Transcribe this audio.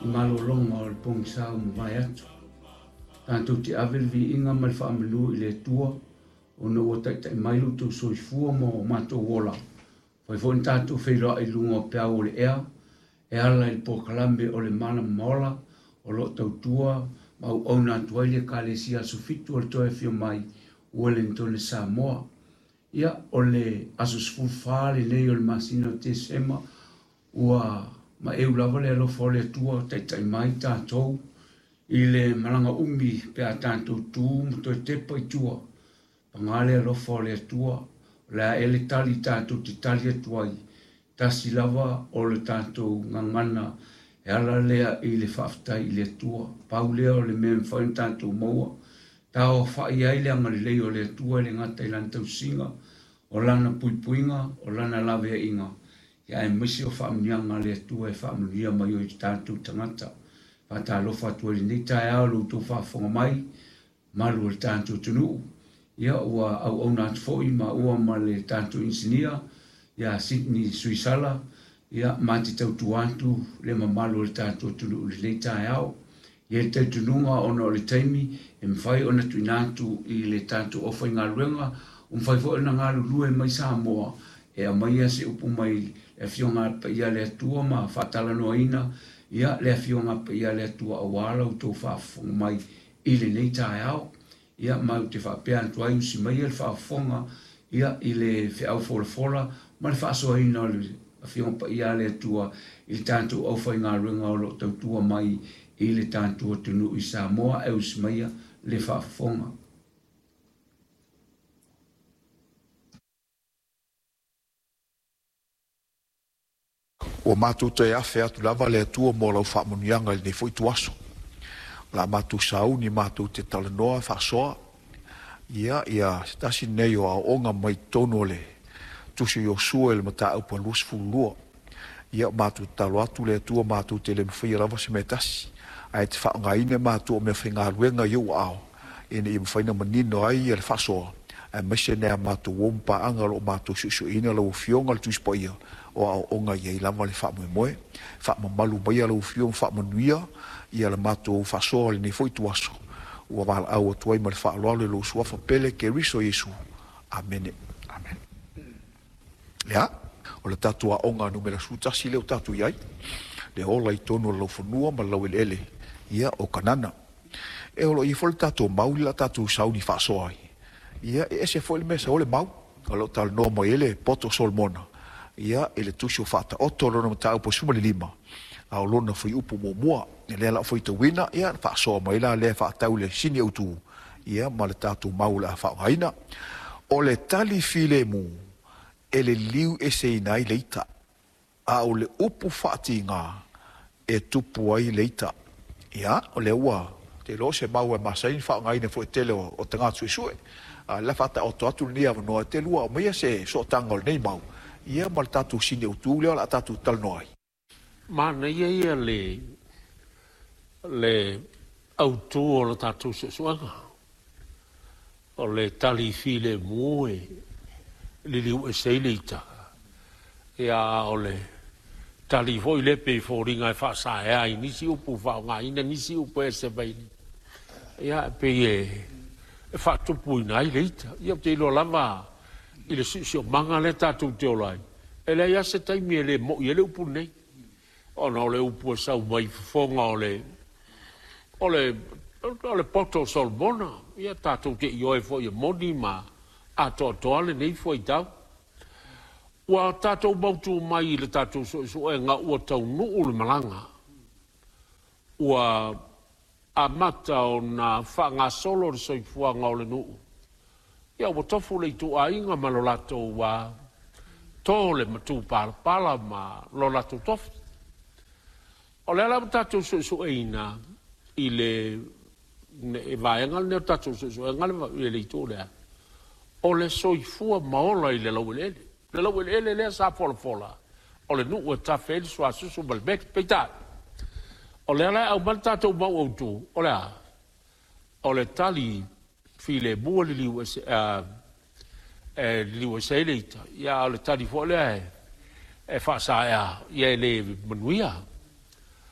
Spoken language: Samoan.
i malologa o le pogisa ua mavae atu. Tatou te ave le viiga ma le faamanu i le Atua ona ua taitai mai lo outou soifua ma o matou ola. Fai foi na tatou feiloai i luga o peau o le ea e ala i le polokalame o le Mana Maola o lo o tautua ma auauna atu ai le Ekalesia Aso Fitu o le Toe Afio Mai Ueligitone Samoa. Ia, o le aso 14 lenei o le masina o Tesema, ua maeu lava le alofa o le Atua o taitai mai tatou i le malaga umi pe a tatou tu ma toe tepa i tua. Paga le alofa o le Atua, o le a ea le tali tatou te tali atu ai, tasi lava o le tatou gagana e ala lea i le faafetai i le Atua. Pau lea o le mea e mafai ona tatou maua, taoafa'i ai le agalelei o le Atua e le gata i Lana tausiga, o Lana puipuiga, o Lana laveaiga, ia aemaise o faamanuiaga a le Atua e faamanuia mai ai i tatou tagata. Faatalofa atu ai i lenei taeao i lo outou faafofoga mai, malu o le tatou atunuu. Ia ua auauna atu foi maua ma le tatou inisinia ia Sydney Suisala, ia ma te tautua atu le mamalu o le tatou atunuu i lenei taeao. I ai le talitonuga ona o le taimi e mafai ona tuuina atu i le tatou aufaigaluega, ua mafai foi ona galulue mai Samoa e aumaia se upu mai le Afioga Paia a le Atua ma faatalanoaina ia le Afioga Paia a le Atua aua la outou faafofoga mai i lenei taeao. Ia, ma ou te faapea atu ai, usi maia le faafofoga ia i le feau folafola ma le faasoaina o le Afioga Paia a le Atua i le tatou aufaigaluega o lo o tautua mai i le tatou atunuu i Samoa, ae usi maia le faafofoga. Ua matou toe afe atu lava le Atua mo lau faamanuiaga i lenei foi ituaso. O le a matou sauni matou te talanoa faasoa ia ia se tasi lenei o aoaoga mai totonu o le Tusi o Iosua i le mataupu a 22. Ia matou tatalo atu le Atua matou te le mafaia lava se mea tasi, ae te faaaogaina matou o meafaigaluega i ou aao ina ia mafai ona manino ai le faasoa, aemaise nai a matou uo ma paaga o lo o matou suesueina lau Afioga le Tusi Paia o aoaoga i ai lava le faamoemoe. Faamamalu maia lau Afioga ma faamanuia ia le matou faasoa i lenei foi ituaso ua valaau atu ai ma le faaaloalo i lou Suafa pele Keriso Iesu. Amene. Amene. Ia, o le tatou aoga numera 11 lea ua tatou i ai, le ola i totonu o le laufanua ma le laueleele, ia, o Kanana. E o lo o i ai foi le tatou mau lea o le a tatou sauni faasoa ai. Ia, e ese foi le mea e sau ai le mau. O lo o talanoa mai ai le poto o Solomona, ia, i le tusi o Faataoto, lona mataupu e 15, a o lona fuaiupu muamua. O lea o le a faitauina, ia, ona faasoa mai la lea e faatatau i le sini autu, ia, ma le tatou mau o le a faaaogaina. O le tali filemu e liliu eseina ai le ita, a o le upu faatiga e tupu ai le ita. Ia, o lea ua te iloa o se mau e masani ona faaaogaina foi e tele o tagata suesue. A o lea faataoto atu lenei avanoa e te lua aumaia se sootaga o lenei mau, ia ma le tatou sini autu lea o le a tatou talanoa ai. Manaia ia le le autu o le tatou suesuega. O le tali filemu e liliu ese ai le ita, ia a o le tali foi lea pei e foliga e faasaea ai nisi upu, faaaogaina nisi upu e ese mai, ia e pei e faatupuina ai le ita. Ia ou te iloa lava i le siosiomaga lea tatou te ola ai, e leai lava se taimi e le mo'i ai le upu lenei, ona o le upu e sau mai fofoga o le o le o le poto o Solomona. Ia tatou te ioe foi e moni ma atoatoa lenei fuaitau. Ua tatou mautu mai i le tatou suesuega ua taunuu le malaga, ua amata ona faagasolo le soifuaga o le nuu. Ia ua tofu le ituaiga ma lo latou ua to le matupalapala ma lo latou tofi. O lea la ua tatou suesueina i le vaega lenei o le tatou suesuega i le itu lea, o le soifua ma ola i le laueleele. Le laueleele lea sa folafola, o le nuu e tafe ai le suasusu ma le meli. Peitai, o lea la e aumai le tatou mau autu, o le a? O le tali filemu e liliu ese, e liliu ese ai le ita, ia a o le tali foi lea e faasaea, ia e le manuia.